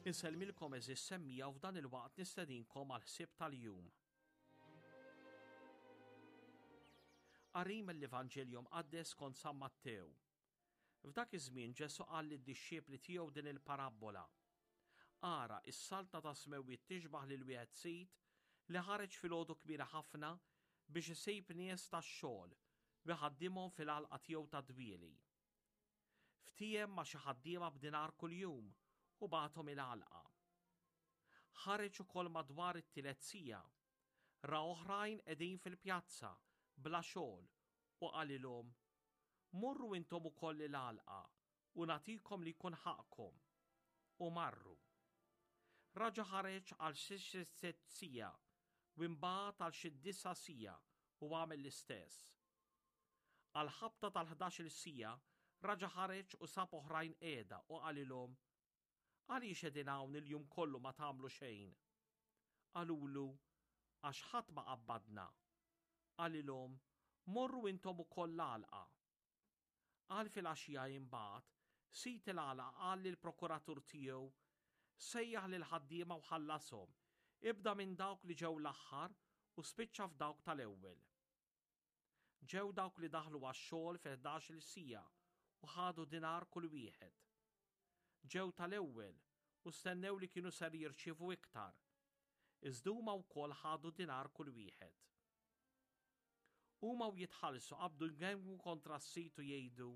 Insellmilkom eżis semmija u f'dan il-waqt nistedinkom għal ħsieb tal-jum. Qari mill-Evanġelju Mqaddes kont San Mattew. F'dak iż-żmien Ġesù qal lid-dixxipli tiegħu din il-parabbola. Ara, is-saltna tas-smewwiet tixbah lil wieħed sid li ħareġ filgħodu kmieni ħafna biex isib nies tax-xogħol u jħaddimhom fil-għalqa tiegħu tad-dwieli. Ftiehem ma' xi ħaddiema b'dinar kuljum u bagħathom il-għalqa. Ħareġ ukoll madwar it-tielet siegħa. Ra oħrajn qegħdin fil-pjazza bla xogħol u qalilhom, 'Morru intom ukoll il-għalqa u nagħtikom li jkun ħaqqkom. U marru. Raġa' ħareġ għal xi sitt siegħa u imbagħad għal xi disa' siegħa u għamel l-istess. Għall-ħabta tal-ħdax-il siegħa raġa' ħareġ u sab oħrajn qiegħda u qalilhom, Għaliex qegħdin hawn il-jum kollu ma tagħmlu xejn? Qalulu, Għax ħadd ma qabbadna. Qalilhom, Morru intom ukoll l-għalqa. Għal filgħaxija imbagħad, sid il-għalqa qal lill-prokuratur tiegħu, Sejjaħ lill-ħaddiema u ħallashom, ibda minn dawk li ġew l-aħħar u spiċċa f'dawk tal-ewwel. Ġew dawk li daħlu għax-xogħol fil-ħdax-il siegħa u ħadu dinar kull wieħed. Ġew tal-ewwel u stennew li kienu ser jirċievu iktar, iżda huma wkoll ħadu dinar kull wieħed. Huma u jitħallsu qabdu jgemgmu kontra s-sid u jgħidu,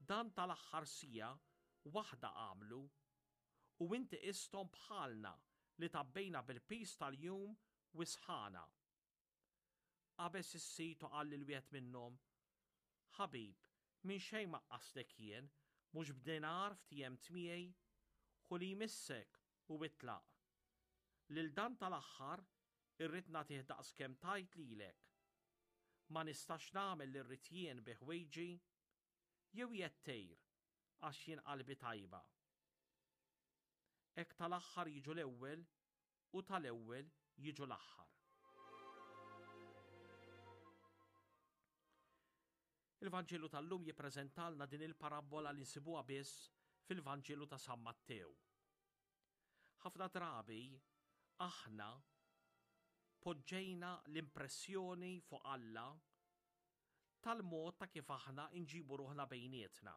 Dan tal-aħħar siegħa waħda għamlu, u inti qisthom bħalna li tgħabbejna bil-piż tal-jum u s-sħana. Qabeż is-sid u qal lil wieħed minnhom, Ħabib, minn xejn ma qqastlek jien, mhux b'dinar ftiehemt miegħi? Ħu li jmissek u itlaq. Lil dan tal-aħħar irrid nagħtih daqskemm tajt lilek. Ma nistax nagħmel li rrid jien bi ħwejġi? Jew qiegħed tgħir għax jien qalbi tajba? Hekk tal-aħħar jiġu l-ewwel u tal-ewwel jiġu l-aħħar. Il-Vanġelu tal-lum jippreżentalna din il-parabbola li nsibuha biss fil-Vanġelu ta' San Mattew. Ħafna drabi aħna poġġejna l-impressjoni fuq Alla tal-mod ta' kif aħna nġibu ruħna bejnietna.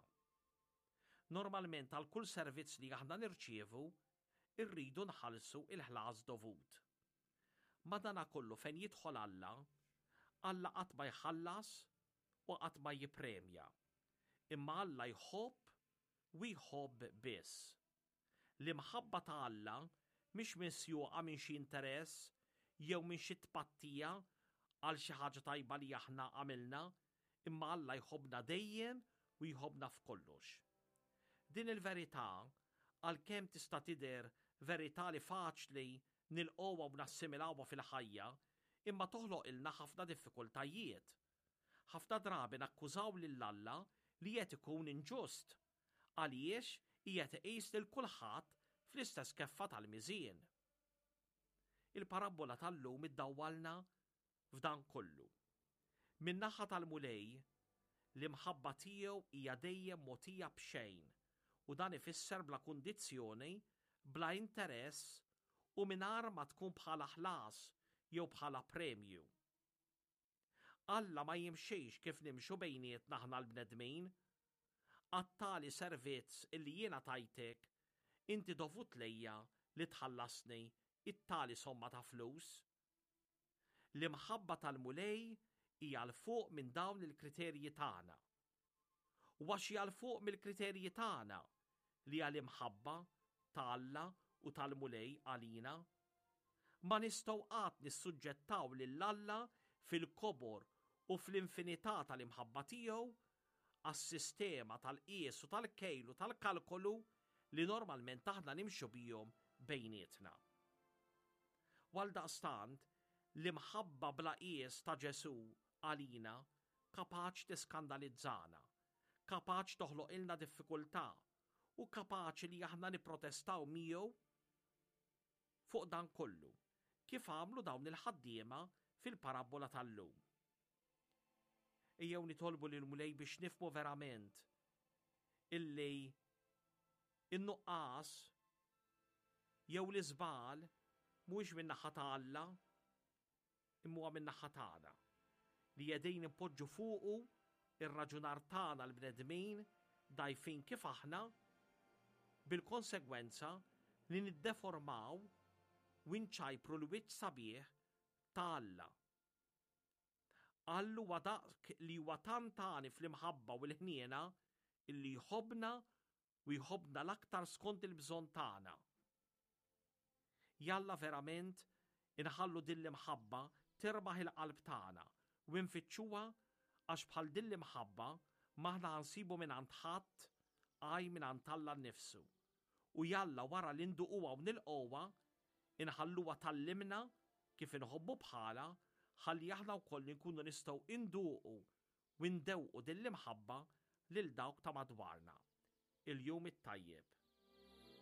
Normalment għal kull servizz li aħna nirċievu irridu nħallsu il-ħlas dovut. Madanakollu fejn jidħol Alla, Alla qatt ma jħallas u qatt ma jippremja. Imma Alla jħobb u jħobb biss. L-imħabba ta' Alla mhix misjuqa minn xi interess jew minn xi tpattija għal xi ħaġa tajba li aħna għamilna, imma Alla jħobbna dejjem u jħobbna f'kollox. Din il-verità, għalkemm tista' tidher verità li faċli nilqgħuha u nassimilawha fil-ħajja, imma toħloqilna ħafna diffikultajiet. Ħafna drabi nakkużaw lil Alla li qed ikun inġust, għaliex qiegħed iqis lil kulħadd fl-istess keffa tal-miżien. Il-parabbola tal-lum iddawwalna f'dan kollu. Min-naħa tal-Mulej, l-imħabba tiegħu hija dejjem mogħtija b'xejn u dan ifisser bla kundizzjoni, bla interess u mingħajr ma tkun bħala ħlas jew bħala premju. Alla ma jimxix kif nimxu bejnietna aħna l-bnedmin. Għat-tali servizz illi jiena tajtek, inti dovut lejja li tħallasni it-tali somma ta' flus. L-imħabba tal-Mulej hija 'l fuq minn dawn il-kriterji tagħna. U għax hija 'l fuq mill-kriterji tagħna li hija l-imħabba ta' Alla u tal-Mulej għalina, ma nistgħu qatt nissuġġettaw lil Alla fil-kobor u fl-infinità tal-imħabba tiegħu għas-sistema tal-qies u tal-kejl u tal-kalkolu li normalment aħna nimxu bihom bejnietna. U għaldaqstant, l-imħabba bla qies ta' Ġesù għalina kapaċ tiskandalizzana, kapaċ toħloqilna diffikultà u kapaċi li aħna nipprotestaw miegħu fuq dan kollu, kif għamlu dawn il-ħaddiema fil-parabbola tal-lum. Ejjew nitolbu lill-Mulej biex nifhmu verament illi in-nuqqas. Jew l-iżball mhuwiex min-naħa ta' Alla, imma huwa min-naħa tagħna, li qegħdin inpoġġu fuqu r-raġunar tagħna l-bnedmin dgħajfin kif aħna, bil-konsegwenza li niddeformaw u nċajpru l-wiċċ sabiħ ta' Alla. Alla huwa dak li huwa tant għani fl-imħabba u l-ħniena illi jħobbna u jħobbna l-aktar skont il-bżonn tagħna. Jalla verament inħallu din l-imħabba tirbaħ il-qalb tagħna u nfittxuha għax bħal din l-imħabba m'aħna ħa nsibu mingħand ħadd għaj mingħand Alla nnifsu. U jalla wara li nduquha u nilqgħuha, inħalluha tgħallimna kif inħobbu bħalha ħalli aħna wkoll inkunu nistgħu induqu u ndewqu din l-imħabba lil dawk ta' madwarna. Il-jum it-tajjeb.